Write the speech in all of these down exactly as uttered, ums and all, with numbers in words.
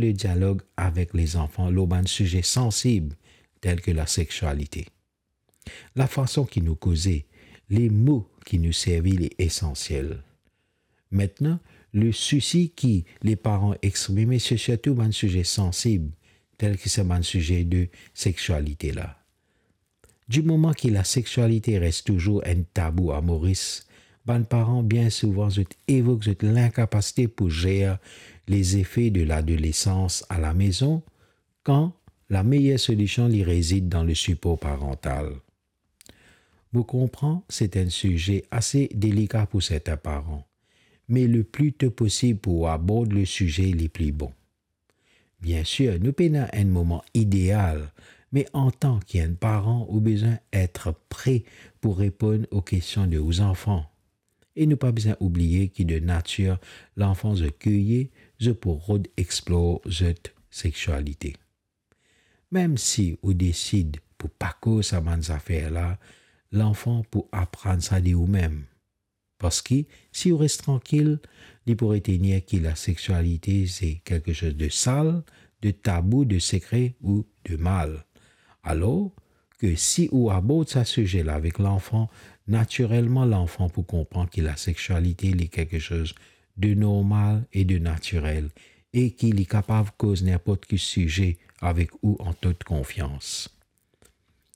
le dialog avek lezanfan lor bann size sansib, tel ke lasekswalite. Lafason ki nou koze, lemo ki nou servi, li esansiel. Aster, le sousi ki leparan exprime, se sirtou bann size sansib, tel ki sa bann size de sekswalite la. Dimoman ki lasekswalite res touzour enn tabou a Moris, bann paran bien souvan zot evok zot linkapasite pou zer lezefe de ladolesans alamezon, kan lameyer solision li rezid dan lesipor parantal. Mo konpran se enn size ase delika pou sertin paran, me le pli to posib pou abord le size, li pli bon. Biensir, nou pena enn moman ideal, me antan ki enn paran, ou bizin et pre pou reponn o kestion de ou zanfan. E nou pa bizin oubliye ki de natir, lanfan zot kirie, zot pou rod explor zot sekswalite. Mem si ou desid pou pa koz sa bann zafer la, lanfan pou aprann sa de oumem. Parski si ou res trankil, li pou retenir ki lasekswalite se kiksoz de sal, de tabou, de sekre ou de mal. Alor ke si ou abord sa size la avek lanfan, natirelman lanfan pou konpran ki lasekswalite li kiksoz de normal e de natirel, e ki li kapav koz ninport ki size avek ou an tot konfians.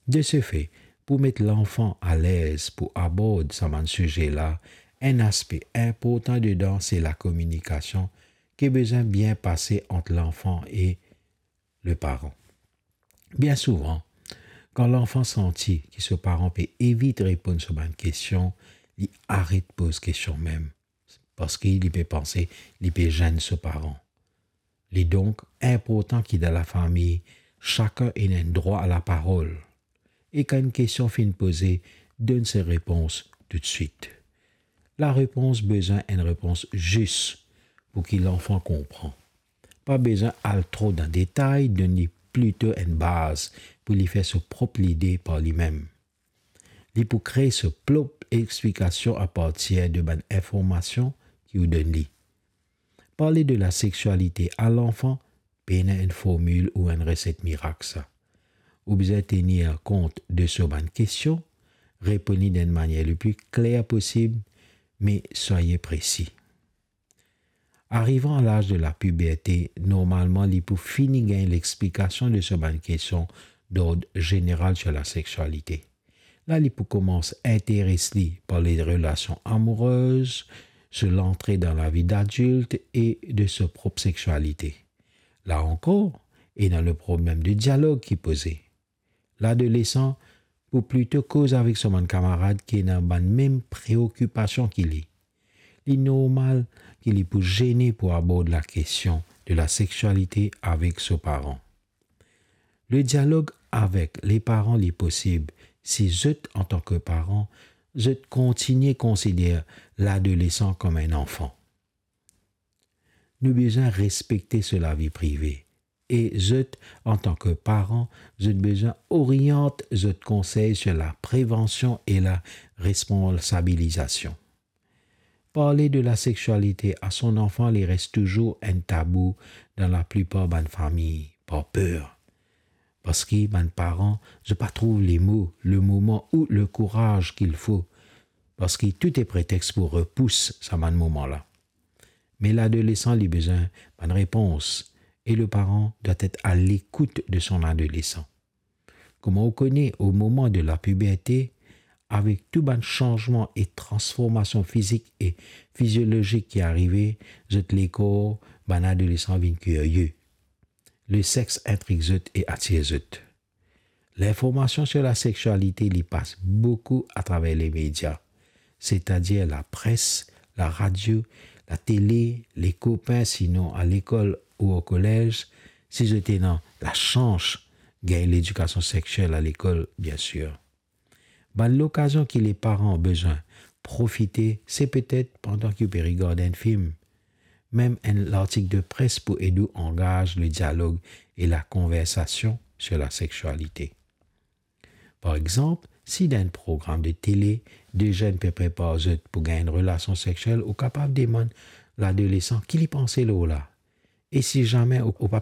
De se fe, pou met lanfan alez pou abord sa bann size la, enn aspe inportan dedan se lakominikasion ki bizin bien pase ant lanfan e leparan. Bien souvan, kan lanfan santi ki so paran pe evit reponn so bann kestion, li aret poz kestion mem, parski li pe panse li pe zenn so paran. Li donk inportan ki dan lafami, sakenn ena enn drwa a laparol. E kan enn kestion finn poze, donn so repons toutswit. Larepons bizin enn repons zis pou ki lanfan konpran. Pa bizin al tro dan detay, donn li plito enn baz pou li fer so prop lide par limem. Li pou kree so prop explikasion apartir de bann informasion ki ou donn li. Parle de lasekswalite a lanfan pena enn formil ou enn reset mirak sa. Ou bizin tenir kont de so bann kestion, reponn li dan enn manier le pli kler posib, me swaye presi. Arivan a laz de lapiberte, normalman li pou fini gagn lexplikasion de so bann kestion dord zeneral sir lasekswalite. La li pou koumans interes li par le relasion amourez, so lantre dan lavi dadilt e de so prop sekswalite. La ankor, ena le problem de dialog ki poze. Ladolesan pou plito koz avek so bann kamarad ki ena bann mem preokipasion ki li. Li normal ki li pou zene pou abord lakestion de lasekswalite avek so paran. Le dialog avek leparan li posib si zot, antan ki paran, zot kontinie konsider ladolesan kom enn anfan. Nou bizin respekte so lavi prive, e zot, antan ki paran, zot bizin oriant zot konsey sir laprevansion e laresponsabilizasion. Parle de lasekswalite a so zanfan, li res touzour enn tabou dan laplipar bann fami, par per. Parski bann paran, zot pa trouv lemo, lemoman ou lekouraz ki fo, parski tou e pretex pou repous sa bann moman la. Me ladolesan, li bizin bann repons, e leparan dwa et a lekout de so adolesan. Kouma ou kone, o moman de lapiberte, avek tou bann sanzman e transformasion fizik e fiziolozik ki arive, zot lekor, bann adolesan vinn kirie. Lesex intrig zot e atir zot. Linformasion sir lasekswalite, li pas boukou atraver lemedia, setadir lapres, laradio, latele, lekopin, sinon alekol ou okolez, si zot ena lasans gagn ledikasion seksiel alekol, biensir. Bann lokazion ki leparan bizin profite, se petet pandan ki ou pe regard enn fim, mem enn lartik de pres pou ed ou angaz ledialog e lakonversasion sir lasekswalite. Par exanp, si dan enn program de tele, de zenn pe prepar zot pou gagn enn relasion seksiel, ou kapav demann ladolesan ki li panse lor la. E si zame ou, ou pa